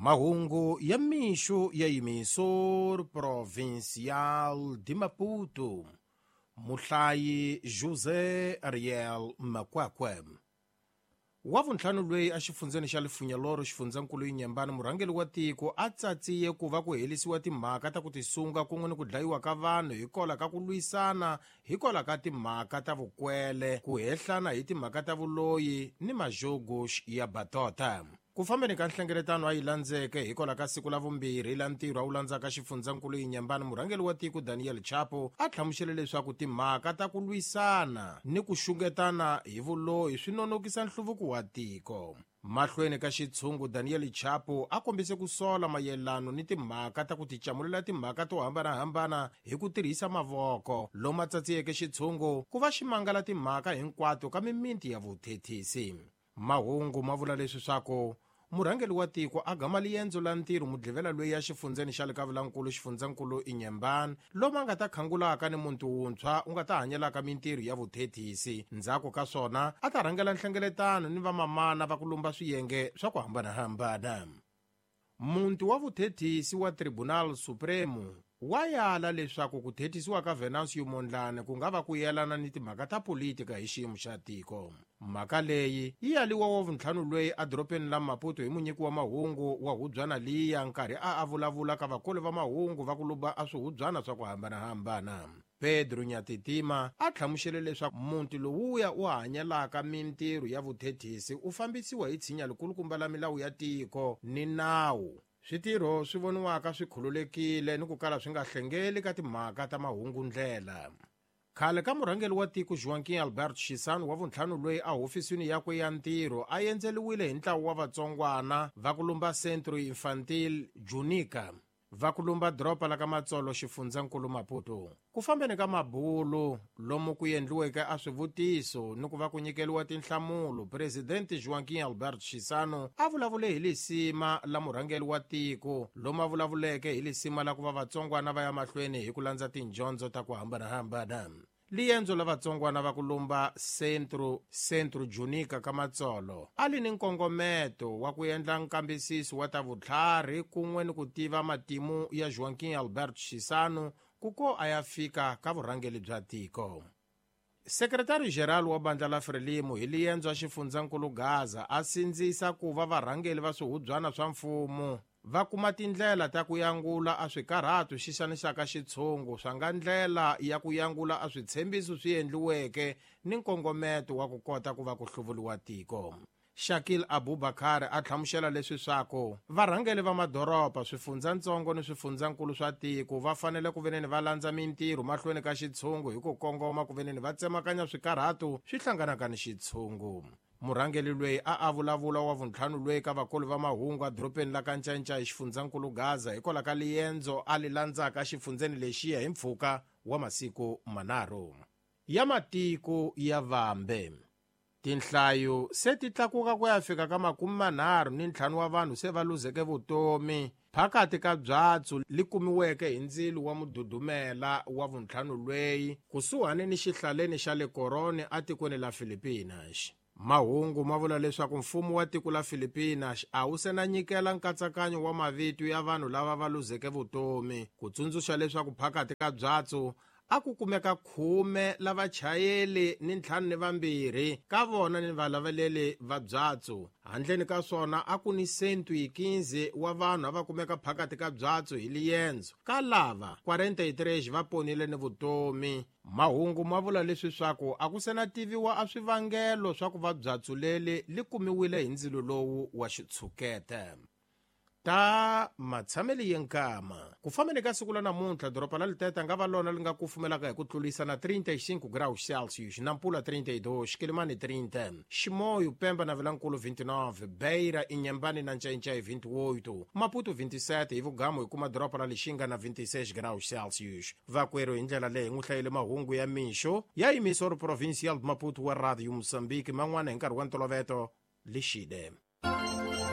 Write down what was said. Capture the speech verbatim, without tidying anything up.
Mahungu ya mixo ya Emissora Provincial de Maputo. Muhlayi José Ariel Makwakwe. Wa vuntlhanu loyi exifundzeni xa Lifunyaloro xifundzankulu Inhambane murhangeri wa tiko a tsatsiye ku va ku helisiwa timhaka ta ku tisunga kun'we ni ku dlayiwa ka vanhu hikwalaho ka ku lwisana hikwalaho ka timhaka ta vukwele ku hehlana hi timhaka ta vuloyi ni majogosh ya batota. Ku fambeni ka nhlengeletano a yi landzeke hikwalaho ka siku la vumbirhi la ntirho a wu landzaka xifundzankulu Inhambane murhangeri wa tiko Daniel Chapo a hlamusele leswaku timhaka ta ku lwisana ni ku xungetana hi vuloyi swi nonokisa nhluvuko wa tiko. Mahlweni ka xitshungu Daniel Chapo a kombise ku sola mayelano ni timhaka ta ku ticamulela timhaka to hambanahambana hi ku tirhisa mavoko lomu a tsatsiyeke xitshungu ku va xi mangala timhaka hinkwato ka mimiti ya vuthethisi. Mahungu ma vula leswi swaku murhangeri wa tiko a gama liendzo la ntirho mudlivela loyi ya xifundzeni xa le ka Vulankulu xifundzankulu Inhambane lomu a nga ta khangulaka ni muntu wuntshwa u nga ta hanyelaka mintirho ya vuthethisi. Ndzhaku ka swona a ta rhangela nhlengeletano ni vamamana va ku lumba swiyenge swa ku hambanahambana. Muntu wa vuthethisi wa Tribunal Supremo wa yala leswaku ku thethisiwa ka Venancio Mondlane ku nga va ku yelana ni timhaka ta politika hi xiyimo xa tiko. Mhaka leyi yi yaliwa wa vuntlhanu loyi edorobeni la Maputo hi munyiki wa mahungu wa hubyana liya nkarhi a a vulavula ka vakoli va mahungu va ku luba a swihubyana swa ku hambanahambana. Pedro Nyatitima a hlamusele leswaku muti lowuya u hanyelaka mintirho ya vuthethisi u fambisiwa hi tshinya likulukumba la milawu ya tiko ni nawu. Switirho swi voniwaka swi khululekile ni ku kala swi nga hlengeli ka timhaka ta mahungundlela. Khale ka murhangeri wa tiko Joaquim Alberto Chissano wa vuntlhanu loyi a hofisini yakwe ya ntirho a endzeliwile hi ntlawa wa vatsongwana va ku lumba Centro Infantil Junica va ku lumba doroba la ka Matsolo xifundzankulu Maputo. Ku fambeni ka mabulu lomu ku endliweke a swivutiso ni ku va ku nyikeliwa tinhlamulo, Presidente Joaquim Alberto Chissano a vulavule hi lisima la murhangeri wa tiko lomu a vulavuleke hi lisima la ku va vatsongwana va ya mahlweni hi ku landza tindyondzo ta ku hambanahambana. Liendzo la vatsongwana va ku lumba Centro Centro Junica ka Matsolo a li ni nkongometo wa ku endla nkambisiso wa ta vutlhari kun'we ni ku tiva matimu ya Joaquim Alberto Chissano ku ko a ya fika ka vurhangeri bya tiko. Sekretari General wa bandla la Frelimo hi liendzo a xifundzankulu Gaza a sindzisa ku va varhangeri va swihubyana swa mfumo va kuma tindlela ta ku yangula a swikarhatu xi xanisaka xitshungu swa nga ndlela ya ku yangula a switshembiso swi endliweke ni nkongometo wa ku kota ku va ku hluvuliwa tiko. Shakil Abubakar a hlamusela leswi swaku varhangeri va madoroba swifundzatsongo ni swifundzankulu swa tiko va fanele ku veneni va landza mintirho mahlweni ka xitshungu hi ku kongoma ku veneni va tsemakanya swikarhatu swi hlanganaka ni xitshungu. Murhangeri loyi a a vulavula wa vuntlhanu loyi ka vakulu va mahungu edorobeni la ka Ncancai xifundzankulu Gaza hikwalaho ka liendzo a li landzaka xifundzeni lexiya hi mpfhuka wa masiku manharhu. Ya matiko ya vambe. Tinhlayo se ti tlakuka ku ya fika ka makume manharhu ni ntlhanu wa vanhu se va luzeke vutomi phakati ka byatsu li kumiweke hi ndzilo wa mududumela wa vuntlhanu lweyi kusuhani ni xihlaleni xa le Korone atikweni la Filipinas. Mahungu ma vula leswaku mfumo wa tiko la Filipinas a wu se na nyikela nkatsakanyo wa mavito ya vanhu lava va luzeke vutomi ku tsundzuxa leswaku phakati ka byatsu a ku kumeka khume la vachayeli ni ntlhanu ni vambirhi ka vona ni valaveleli va byatsu. Handleni ka swona a ku ni cento e quinze wa vanhu a va kumeka phakati ka byatsu hi liendzo. Ka lava quarenta e três va ponile ni vutomi. Mahungu ma vula leswi swaku a ku se na tiviwa a swivangelo swa ku va byatsu leli li kumiwile hi ndzilo lowu wa xitshukete. Ta matshameli yenkama. Ku fambeni ka siku la namuntlha doroba la Liteta nga va lona li nga kufumelaka hi ku tlulisa na trinta e cinco graus Celsius, Nampula trinta e dois, Quelimane trinta, Chimoio, Pemba na Vilankulu vinte e nove, Beira, Inhambane na Ncancai vinte e oito, Maputo vinte e sete hi Vugamu hi kuma doroba la Lixinga na vinte e seis graus Celsius. Vakwerhu hi ndlela leyi n'wi hlayile mahungu ya mixo ya Emissora Provincial de Maputo wa Radio Moçambique man'wana hi nkarhi wa ntoloveto Lixide.